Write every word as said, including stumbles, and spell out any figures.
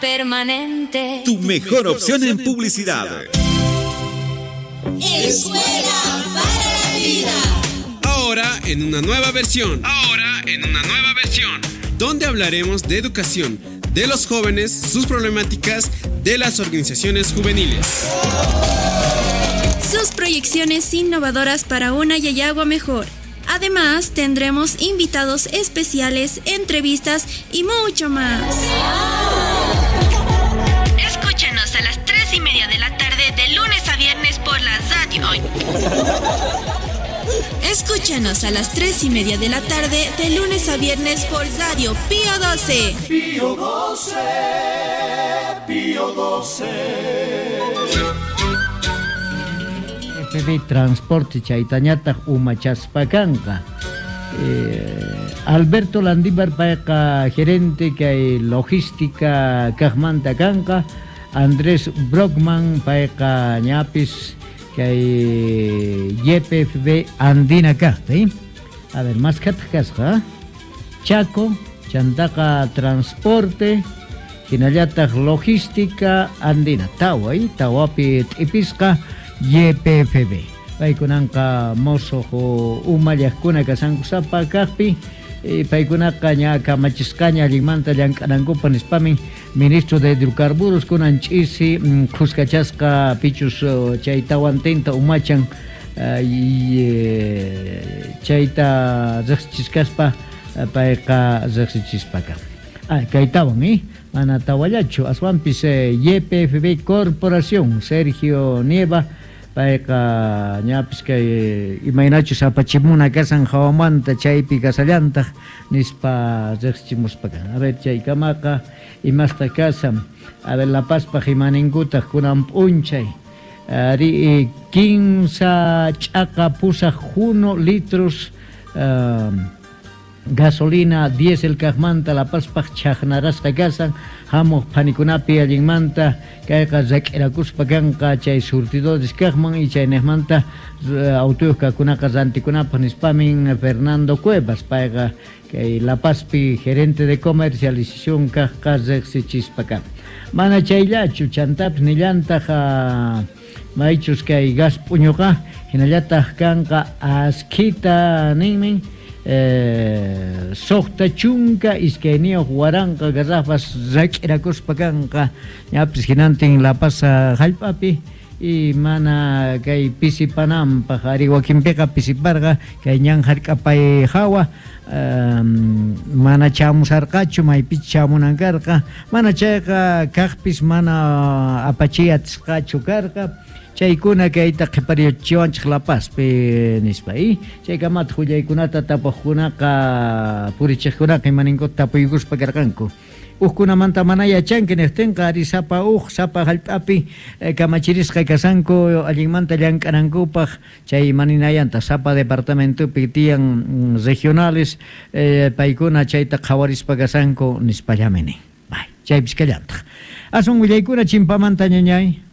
Permanente. Tu mejor opción en publicidad. Escuela para la Vida. Ahora en una nueva versión. Ahora en una nueva versión. Donde hablaremos de educación, de los jóvenes, sus problemáticas, de las organizaciones juveniles. Sus proyecciones innovadoras para una Llallagua mejor. Además, tendremos invitados especiales, entrevistas y mucho más. Escúchanos a las tres y media de la tarde de lunes a viernes por la radio. Escúchanos a las tres y media de la tarde de lunes a viernes por Radio Pío doce. Pío doce, Pío doce. F B Transporte chaytañataq umachaspakanqa. Eh, Alberto Landívar payqa gerente kay logística kaqmanta kanqa. Andrés Brockman payqa ñapis kay Y P F B Andina kaqta, ¿eh? A ver, más khataq kasqa, Chaco, chantaqa transporte, hinallataq logística Andina, tawa, ¿eh? Tawapi t'ipisqa Y P F B. Paykunanqa mosojo umallaqkuna kasankusapa kaqpi, eh, paykunaqa ña kamachisqaña allinmanta llank'anankupa nispamin ministro de hidrocarburos kunan ch'isi khuskachasqa pichus chay tawantinta umachan, eh, y, eh, chayta riqsichisqaspa payqa riqsichispaka. Ah, kaytawan, eh? Mana tawallachu aswanpis eh, Y P F B Corporación Sergio Nieva payqa ñapis kay imaynachus apachimuna kasan hawamanta chaypi kasallantaq nispa riqsichimuspaka. A ver, chaykamaqa imasta kasan. A ver, La Pazpaq imaninkutaq kunan p'unchay. Ari quinsa ch'aqa pusaq juno litros uh, gasolina diésel kaqmanta La Pazpaq chaqnarasqa kasan hamuq phanikunapi allinmanta kayqa rak'irakuspa kanqa chay surtidores kaqman y chaynejmanta autuyuq kaqkunaqa rantikunapaq nispamin Fernando Cuevas payqa kay La Pazpi gerente de comercialización kaqqa riqsichispaka. Mana chayllachu chantapis nillantaq maychus kay gas p'uñuqa hinallataq kanqa askhita ninmin Eh, soqta chunka iskayniyuq waranqa garrafas rak'irakuspa kanqa ñapis hinantin La Paz hallp'api y mana kay pisipananpaq ari wakinpiqa pisiparqa kay ñan hark'apay hawa um, mana chamusarqachu maypichu chamunan karqa mana chayqa kaqpis mana apachiy atisqachu karqa chaykuna kayta qhiparichiwanchik La Pazpi nispa y chaykamata willaykunata tapuqkunaqa purichiqkunaqa imaninkuta tapuykuspa karqanku. Ujkunamanta mana yachanki niqtinqa ari sapa uj sapa hallp'api eh, kamachirisqa kasanku allinmanta llank'anankupaq chay maninayanta sapa departamentopi tiyan regionales eh, paykuna chayta qhawarispa kasanku nispallami nin. Bay, chaypis kallantaq. Asun willaykuna chimpamanta ñañay.